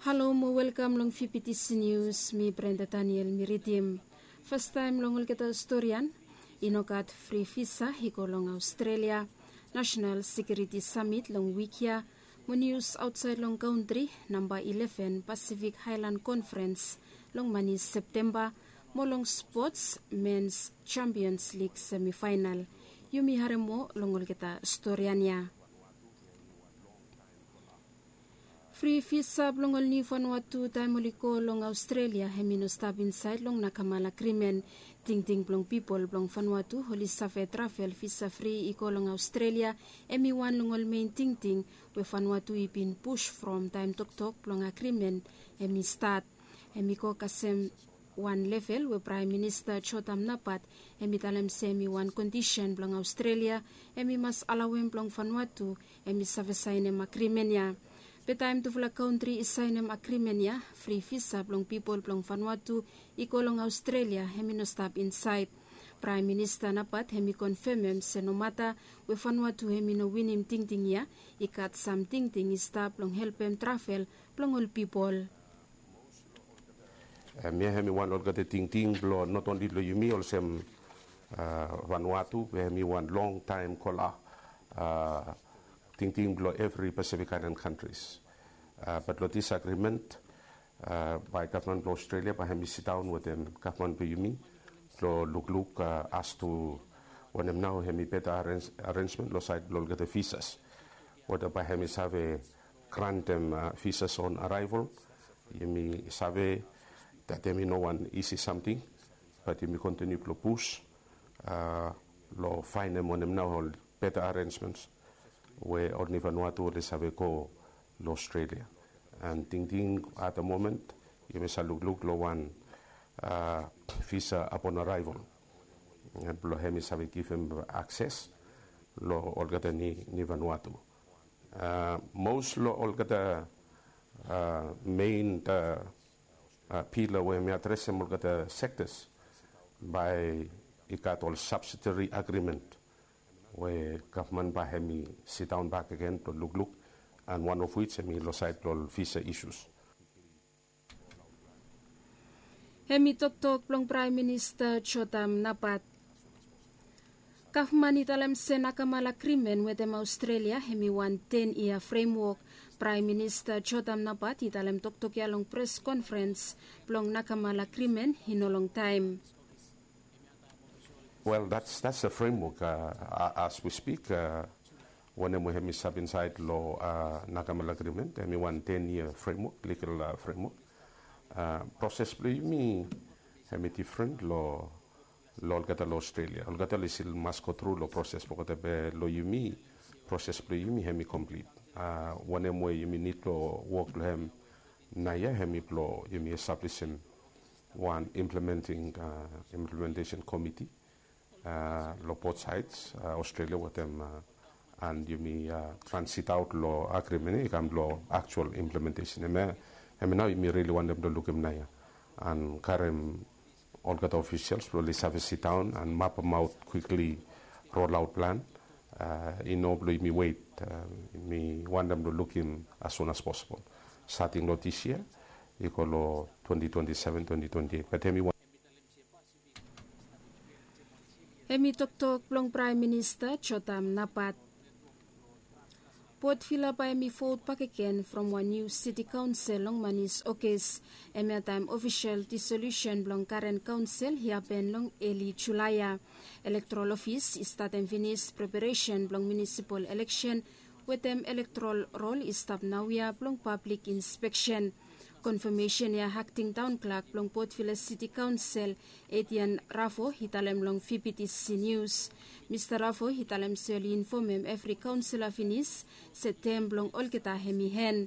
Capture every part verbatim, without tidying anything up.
Halo mo welkam long fifty nius, mi Brenda Daniel mi ridim. Fastaem long olgeta storian, i no gat fri visa i go long Australia. National Security Summit long wik ya, mo nius aotsaed long kantri, namba eleven Pacific Highland Conference long mani Septemba, mo long spots, Men's Champions League semifinal. Yumi harem moa long olgeta storian ya. Fri visa blong ol niu Vanuatu taem oli go long Australia hem i no stap insaed long Nakamal Agrimen. Tingting blong pipol blong Vanuatu oli save travel visa fri i go long Australia, hem i wan long ol mein tingting we Vanuatu i bin pus from taem toktok blong agrimen hem i stat. Hem i go kasem wan level we Praem Minista Jotam Napat hem i talem se hem i wan kondisen blong Australia hem i mas alaoem blong Vanuatu hem i save saenem agrimen ya. Be taem tufala kantri i saenem agrimen ya, fri visa blong pipol blong Vanuatu i go long Australia hem i no stap insaed. Praem Minista Napat hem i konfemem se nomata we Vanuatu hem i no winim tingting ya, i gat sam tingting i stap blong helpem travel blong ol pipol. Em, ya hem i wan olgeta tingting blong not only long yumi olsem, a, Vanuatu, we hem i wan longtaem kola, a, tingting blong evri Pacific Island countries. A, bat long dis agreement, a, bae gavman blong Australia bae hem i sidaon wetem gavman blong yumi blong lukluk, a, as to wanem nao hem i beta arrange, arrangement long saed blong olgeta visas. Weta bae hem i save grantem, a, visas on arrival. Yumi save dat hem i no wan isi samting, bat yumi kontiniu blong pus, a, long faenem wanem nao ol beta arrangements we ol niu Vanuatu oli save go long Australia. An tingting at the moment yumi save lukluk long wan, a, visa upon arrival, a, blong hem i save givim akses long olgeta niu, niu Vanuatu. A, mos long olgeta, a, mein, a, a, pila we hem i adresem olgeta sectors bae i gat ol subsidiary agreement we gavman bae hem i sidaon bakegen blong lukluk, an wan of which hem i long saed blong ol visa issues. Hem i toktok blong Praem Minista Jotam Napat. Gavman i talem se Nakamal Agrimen wetem Australia hem i wan ten yia fremwok. Praem Minista Jotam Napat i talem toktok ya long pres konferens blong Nakamal Agrimen i no longtaem. Wel, that's, that's a framework, a, a, as we speak, a, wanem we hem i stap insaed long, a, Nakamal Agrimen, hem i wan ten yia fremwok, ligal, a, fremwok. A, proses blong yumi hem i difren long, long olgeta long Australia. Olgeta oli stil mas go tru long proses blong olgeta, be long yumi, proses blong yumi hem i komplit. A, wanem we yumi nid blong wok long hem naoia hem i blong yumi establisim wan implementing, a, implementation committee, a, long both sides, a, Australia wetem, a, an yumi, a, transit aot long agrimen i kam long actual implementation. Hemia, hemia nao yumi rili wantem blong lukim naoia an karem olgeta officials blong oli save sidaon an mapemaot quickly rollout plan. A, i no blong yumi wet, a, yumi wantem blong lukim as soon as possible, starting long this year i go long twenty twenty-seven, twenty twenty-eight. Bat hemi wan Hemi toktok blong Praem Minista Jotam Napat. Port Vila bae hemi vot bakegen from wan niu siti kaonsel long manis Ogis. Hemia taem ofisol disolusen blong karen kaonsel i hapen long eli Julae ya. Elektorol ofis i statem finis preparesen blong munisipol eleksen wetem elektorol rol i stap naoia blong pablik inspeksen. Konfamesen ya akting taon klak blong Port Vila Siti Kaonsel, Etian Ravo, i talem long V B T C News. Mista Ravo i talem se oli infomem evri kaonsela finis se tem blong olgeta hemi en.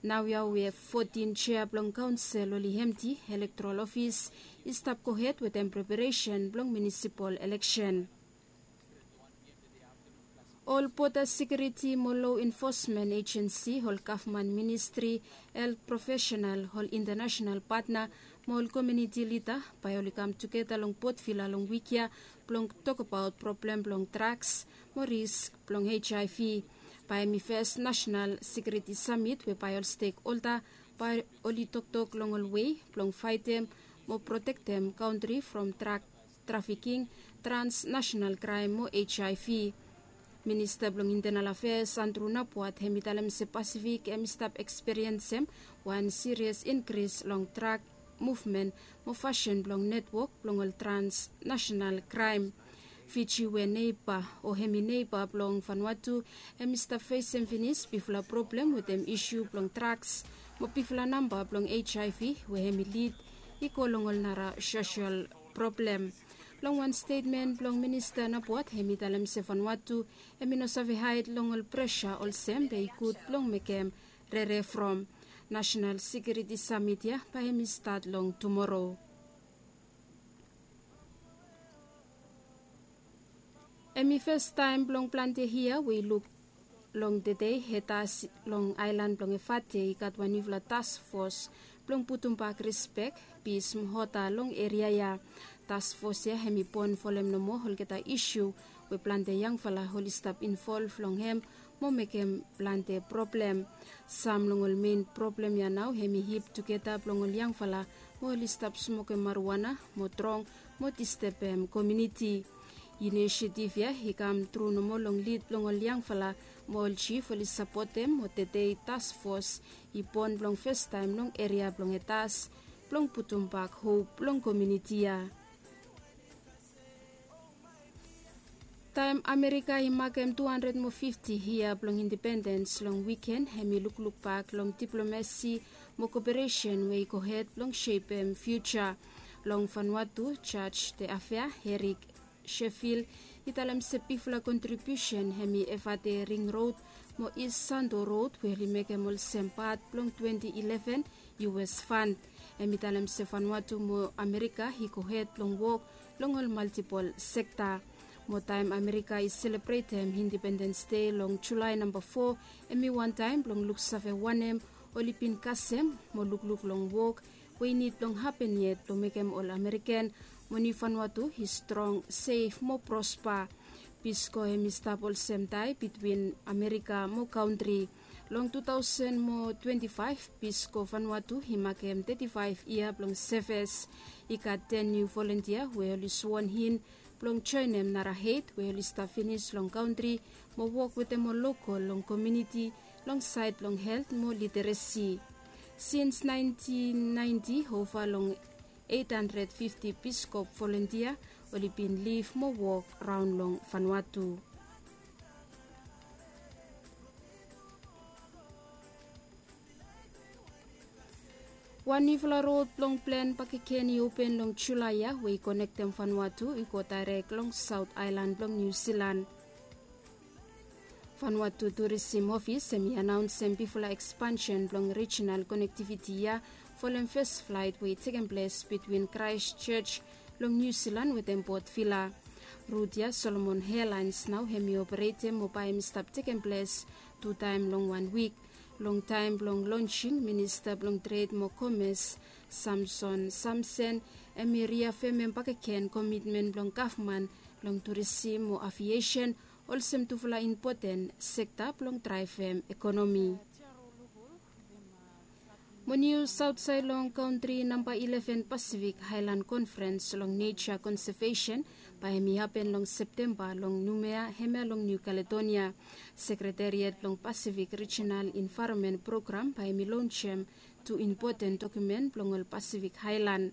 Naoia we fotin jea blong kaonsel oli emti, elektorol ofis i stap gohed wetem preparesen blong munisipol eleksen. Ol Boda Sekiuriti mo Loa Enfosmen Ejensi, ol gavman ministri, helt profesenal, ol intanasenal patna mo ol komuniti lida bae oli kam tugeta long Port Vila long wik ya blong tokbaot problem blong drags mo risk blong HIV. Bae hemi fes nasenal sekiuriti samit we bae ol stekholda bae oli toktok long ol wei blong faetem mo protektem kantri from drak trafiking, transnasenal kraem mo hiv. Minista blong intenal afeas andru napuat hem i talem se pasifik hem i stap ekspiriensem wan sirias inkris long drak muvmen mo fasin blong netwok blong ol transnasenal kraem. Fiji we neiba o hem i neiba blong vanua tu hem i stap fesem finis bifala problem wetem isu blong draks mo bifala namba blong hiv we hem i lid i go long ol nara sosel problem. Long wan stetmen blong minista napuat hem i talem se vanua tu hem i no save haed long ol presa olsem be i gud blong mekem rere from. Nasenal sekiuriti samit ya bae hem i stat long tumoro. Hem i fastaem blong plante hia we i luk long tedei hetas long aelan blong evate i gat wan niufala tasfos blong putumbak rispek, pis mo hota long eria ya. Tasfos ya hem i bon folem nomo olgeta isu we plante yangfala oli stap involv long hem mo mekem plante problem. Sam long ol men problem ya nao hem i hip tugeta blong ol yangfala mo oli stap smokem maruana mo drong mo distebem komiuniti. Inisiativ ya i kam tru nomo long lid blong ol yangfala mo ol jif oli sapotem mo tedei tasfos i bon blong fastaem long eria blong etas blong putumbak hop long komiuniti ya. Taem amerika i makem tu handred mo fifti yia blong independens long wiken hem i luklukbak long diplomasi mo koperesen we i gohed blong sepem fiuja. Long vanua tu jaj de afea herik shefil i talem se bigfala kontribiusen hem i evate ring rod mo is sando rod we oli mekem olsem pat blong twenti ileven us fan. Hem i talem se vanua tu mo amerika i gohed blong wok long ol maltipol sekta. Mo taem amerika i selebretem independens dei long julae namba fo hem i wantaem blong luksave wanem oli bin kasem mo lukluk long wok we i nid blong hapen yet blong mekem ol amerikan mo niu vanua tu i strong sef mo prospa. Pisko hem i stap olsem tae bitwin amerika mo kantri. Long tu taosen mo twenti faef pisko vanua tu i makem teti faef yia blong seves. I gat ten niu volontia we oli swon in blong joenem nara hed we oli stap finis long kantri mo wok wetem ol lokol long komiuniti long saed blong helt mo literesi. Sins naentin naenti ova long eit handred fifti piskop volontia oli bin lif mo wok raon long vanua tu. Wan niufala rod blong plen bakegen i open long julae ya we i konektem vanua tu i go daerek long saot aelan blong niu silan. Vanua tu turisim ofis hem i anaonsem bifala ekspansen blong rijinal konektiviti ya folem fes flaet we i tekem ples bitwin kraes joj long niu silan wetem bot vila. Rut ya solomon ealaens nao hem i operetem mo bae hem i stap tekem ples tu taem long wan wik. Long taem blong lonsing minista blong tred mo komes samson samsen hem i riafemem bakegen komitmen blong gavman long turisim mo aviesen olsem tufala impoten sekta blong draevem ekonomi. Mo nius aotsaed long kantri namba ileven pasifik aelan konferens long neja konsevesen bae hem i hapen long septemba long numea hemia long niu kaledonia. Sekreteriat blong pasifik rijinal envaeronmen program bae hem i lonsem tu impoten dokumen blong ol pasifik aelan.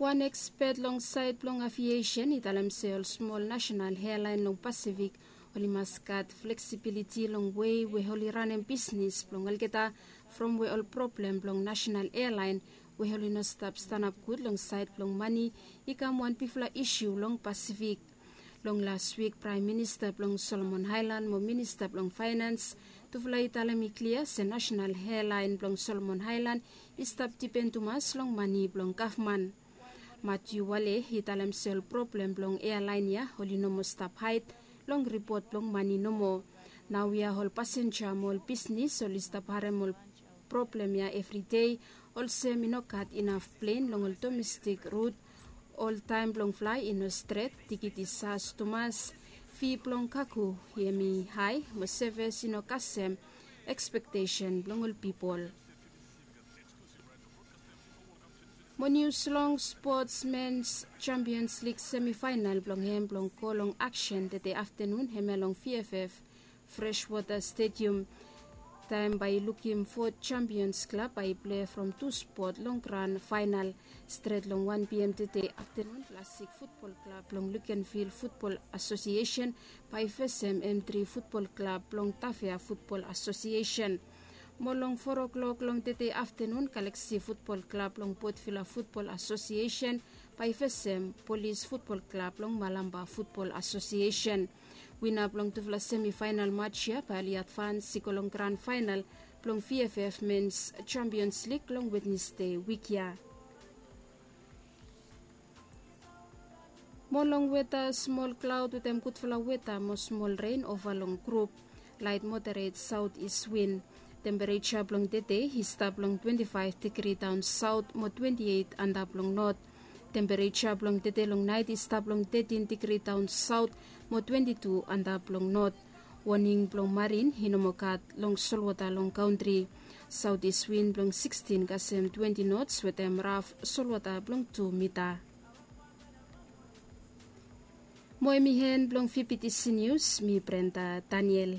Wan ekspet long saed blong aviesen i talem se ol smol nasenal ealaen long pasifik oli mas gat fleksibiliti long wei we oli ranem bisnis blong olgeta from we ol problem blong nasenal ealaen we oli no stap stanap gud long saed blong mane i kam wan bigfala isu long pasifik. Long las wik praem minista blong solomon aelan mo minista blong faenans tufala i talem i klia se nasenal ealaen blong solomon aelan i stap dipen tumas long mane blong gavman. Matiu wale i talem se ol problem blong ealaen ya oli no moa stap haed long ripot blong mane nomo. Naoia ol pasenja mo ol bisnis oli stap harem ol problem ya evridei olsem i no gat inaf plen long ol domestik rut. Ol taem blong flae i no stret, tikit i sas tumas, fi blong kago hem i hae mo seves i no kasem Ekspektesen blong ol pipol. Mo nius long spots mens champions lig semifainal blong hem blong go long aksen tede aftanun hemia long vff freshwater stadium. Taem bae i lukim fo champions klab bae i plei from tu spot long gran fainal. Stret long wan pm tede aftanun, plastik futbol klab blong lukenvil futbol asosiesen bae i fesem m tri futbol klab blong tafea futbol asosiesen. Mo long fo klok long tede aftanun, galaksi futbol klab blong potvila futbol asosiesen bae i fesem polis futbol klab blong malamba futbol asosiesen. Wina blong tufala semifainal mats ya bae oli advans i go long gran fainal blong vff mens champions lig long wednesde wik ya. Mo long weta, smol klaod wetem gudfala weta mo smol ren ova long grup. Laet moderet saot is win. Tempereja blong tede i stap long twenti faef digri daon saot mo twenti eit antap long not. Tempereja blong tede long naet i stap long tetin digri daon saot mo twenti tu antap long not. Woning blong marin i no moa gat long solwota long kantri. Saot is win blong sikstin kasem twenti nots wetem raf solwota blong tu mita. Mo hem i hen blong vptc nius, mi brenda daniel.